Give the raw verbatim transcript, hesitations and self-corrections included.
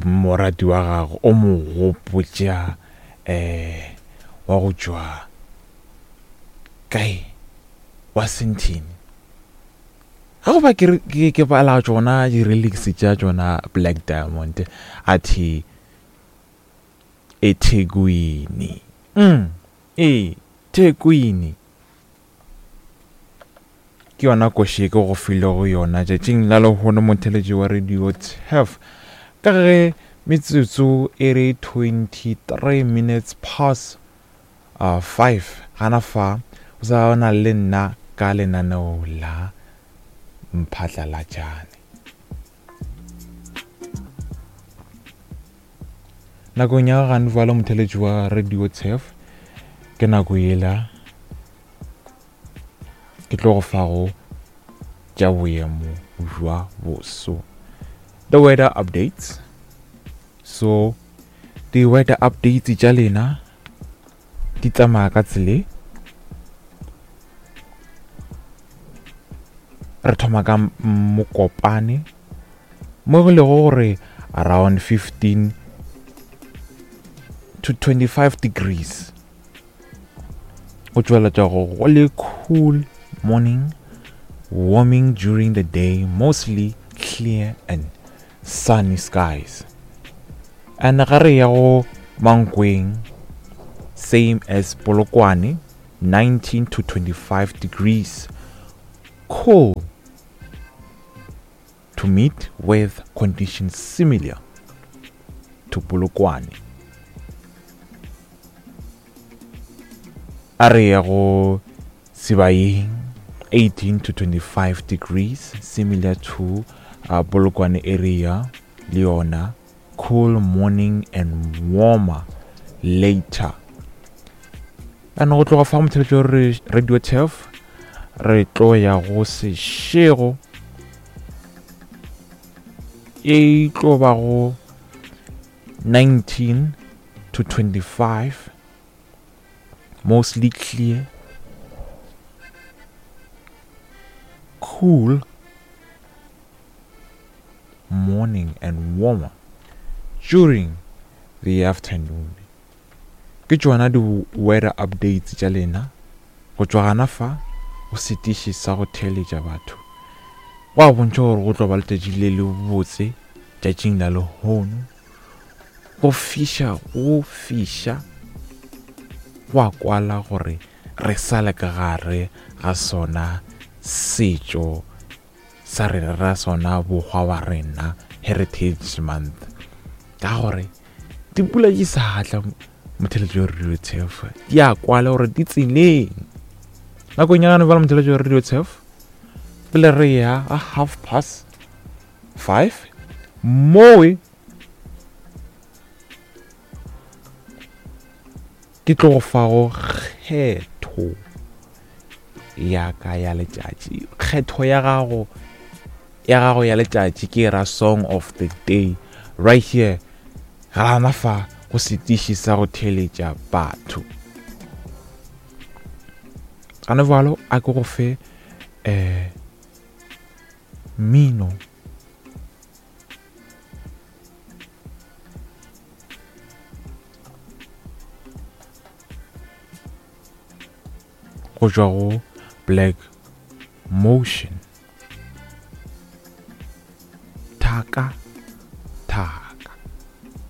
Morati wa gago o mo gopotša um wa go tšwa kae wa Sentini. Ga go ba ke ke ke bala tšona di-relics tša tšona Black Diamond a the eThekwini. Mm, ee, Thekwini. Ke yona koši e ke go filego yona tšatšing la lehono motheletši wa Radio Turf. Ka ge metsotso e re twenty-three minutes past uh, five gana fa o sa na le nna ka lenaneo la Mphatlalatšane. Nakong ya gane jwale motheletši wa Radio Turf ke nako yela ke tlo go fago tša boemo bja boso. The weather updates. So the weather updates tša lena di tsamaya ka tsele. Re thoma ka Mokopane mo go lego gore around fifteen to twenty-five degrees. Go tšweletša go go le cool morning, warming during the day, mostly clear and sunny skies. And ga re ya go Mankweng, same as Polokwane, nineteen to twenty-five degrees, cool to meet with conditions similar to Polokwane. A re ya go Sibayeng, eighteen to twenty-five degrees, similar to uh, Polokwane area, Leona, cool morning and warmer later. And go tloga fa motheletši re Radio Turf re tlo ya go Seshego e tlo ba go nineteen to twenty-five, mostly clear, cool morning and warmer during the afternoon. Ke tšona di-weather updates tša lena go tšwa gana fa go setiši sa go theeletša batho. Go a bontšha gore go tlo ba letšatši le le botse tšatšing la lehono. Go fiša, go fiša, go a kwala gore re sa le ka gare ga sona setšo sa rena ra sona bokgwa wa rena Heritage Month. Ka gore dipula di sa tla motheletši wa Radio Turf, di a kwala gore di tseleng. Nakong ya gane bjale motheletši wa Radio Turf pele re ya a half past five mowe ke tlo go fago kgetho ya ka ya letšatši. Kgetho ya gago ya gago ya letšatši ke ra song of the day right here gana fa go setiši sa go theeletša batho. Gane jwalo a ke go fe eh mmino go tšwa go Black Motion.